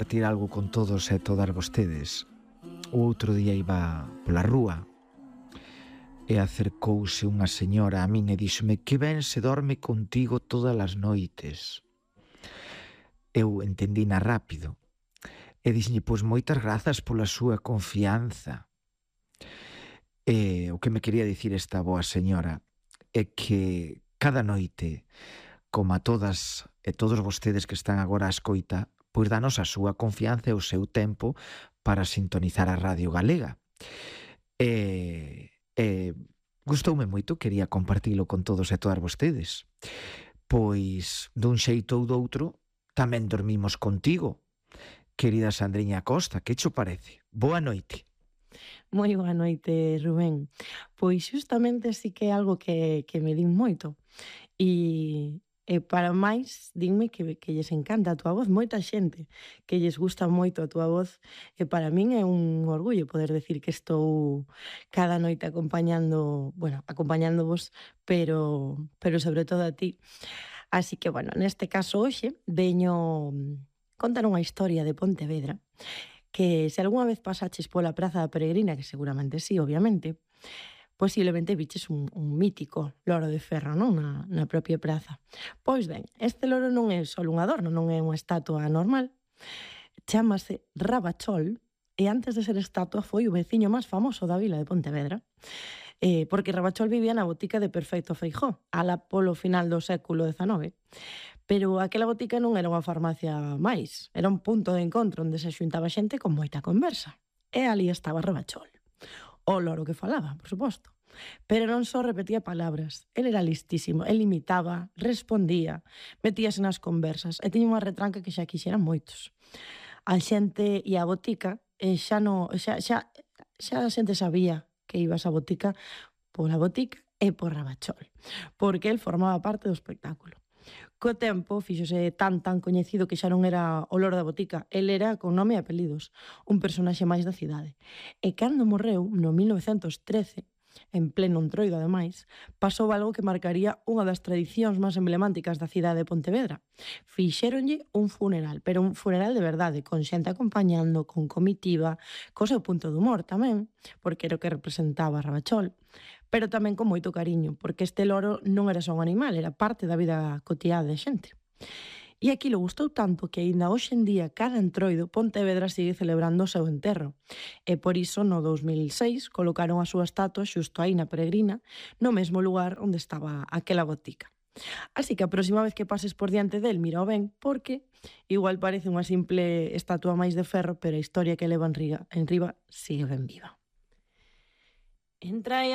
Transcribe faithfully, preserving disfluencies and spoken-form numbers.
compartir algo con todos e todas vostedes. O outro día iba pola rúa e acercouse unha señora a min e díxome: que ben se dorme contigo todas as noites. Eu entendina rápido e dixenlle: pois moitas grazas pola súa confianza. E o que me quería dicir esta boa señora é que cada noite, como a todas e todos vostedes que están agora a escoita, pois danos a súa confianza e o seu tempo para sintonizar a Radio Galega. E, e gustoume moito, quería compartilo con todos e todas vostedes. Pois, dun xeito ou doutro, tamén dormimos contigo, querida Sandriña Costa. Que cho parece? Boa noite. Moi boa noite, Rubén. Pois xustamente sí que é algo que, que me din moito. E, e para máis, dinme que, que lles encanta a túa voz. Moita xente que lles gusta moito a túa voz. E para min é un orgullo poder decir que estou cada noite acompañando, bueno, acompañándovos, pero, pero sobre todo a ti. Así que, bueno, neste caso hoxe veño contar unha historia de Pontevedra que se algunha vez pasaches pola Praza da Peregrina, que seguramente sí, obviamente, posiblemente viches un, un mítico loro de ferro, non? Na, na propia praza. Pois ben, este loro non é só un adorno, non é unha estatua normal, chámase Rabachol, e antes de ser estatua foi o veciño máis famoso da vila de Pontevedra, eh, porque Rabachol vivía na botica de Perfecto Feijó, ala polo final do século dezanove. Pero aquela botica non era unha farmacia máis, era un punto de encontro onde se xuntaba xente con moita conversa. E ali estaba Rabachol. O loro que falaba, por suposto. Pero non só repetía palabras, el era listísimo, el imitaba, respondía, metíase nas conversas e tiña unha retranca que xa quixeran moitos. A xente e a botica, e xa, no, xa, xa, xa a xente sabía que ibas a botica pola botica e por Rabachol, porque el formaba parte do espectáculo. Co tempo fíxose tan tan coñecido que xa non era o loro da botica, el era con nome e apelidos, un personaxe máis da cidade. E cando morreu, no mil novecentos trece, en pleno entroido ademais, pasou algo que marcaría unha das tradicións máis emblemáticas da cidade de Pontevedra. Fixéronlle un funeral, pero un funeral de verdade, con xente acompañando, con comitiva, co seu punto de humor tamén, porque era o que representaba Rabachol, pero tamén con moito cariño, porque este loro non era só un animal, era parte da vida cotiá de xente. E aquilo gustou tanto que aínda hoxe en día cada entroido Pontevedra sigue celebrando o seu enterro. E por iso no dous mil seis colocaron a súa estatua xusto aí na Peregrina, no mesmo lugar onde estaba aquela botica. Así que a próxima vez que pases por diante del, mira ben, porque igual parece unha simple estatua máis de ferro, pero a historia que leva en riba, en riba sigue ben viva. Entra